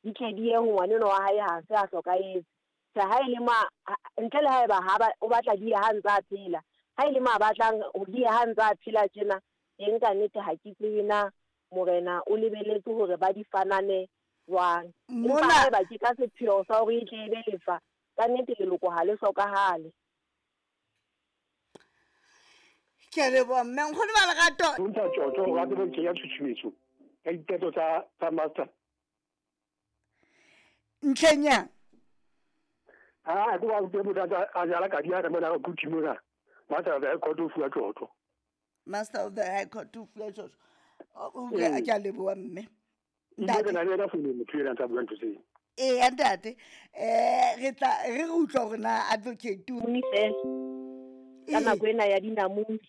Di tle di ye ho ngwanenwa wa hae ha se a hlokahetse. Tjhe, ha e le mo ntle le haeba ha ba o batla di ye ha ntse a phela. Ha e le mo a batlang di ye ha ntse a phela tjena, teng ka nnete ha ke tsebe na morena o lebeletse hore ba di fanane jwang. Empa haeba ke ka sepheo sa hore e tle e be lefa, ka nnete leloko ha le hlokahale. Ke a leboha mme nkgono ba lerato. Ho ntsha tjotjo hore a tsebe ho kenya tshutshumetso ya diqeto tsa master. Ntlheng yang? Ha ke wa ke motho a jala kadi ya re mona go thimona. Master of the High Court o fuwa tjotjo. Master of the High Court o fuwa tjotjo. Okay, ke a leboha mme. Ntate na le yena founung motho ena ntsa bua ntho tseo. Ee ntate, re tla re re utlwa hore na advocate o fela ka nako ena ya dinamune.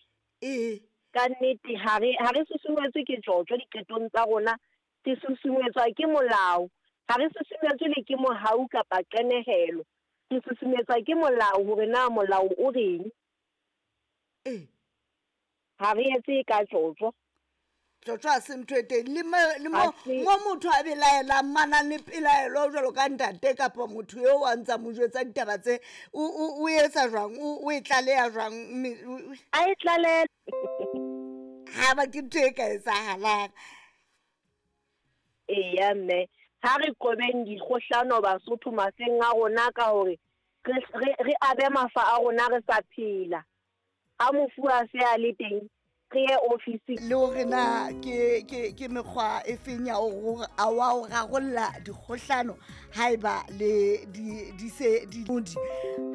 Ee. Ka nnete ha re ha re susumetswe ke tjotjo diqetong tsa rona, re susumetswa ke molao. Ha re susumetswe le ke mohau kapa qenehelo. Re susumetswa ke molao hore na molao o reng. Ee. Ha re etse ka tjotjo. Tjotjo ha se ntho e teng. Le mo, le mo, mo motho a belaelang, manang le pelaelo jwalo ka ntate kapa motho eo a ntsa mo jwetsa ditaba tse, o etsa jwang? O e tlaleha jwang? A e tlaleha. Ha ba ke ntho e ka etsahalang. Eya mme, ha re qobeng dikgohlano Basotho mafeng a rona ka hore re abe mafa a rona re sa phela. Ha mofu a se a le teng, re ye ofising. Le hore na ke, ke, ke mekgwa e feng ya ho wa ho rarolla dikgohlano haeba le di, di se di modi.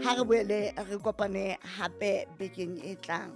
Ha re boele re kopane hape bekeng e tlang.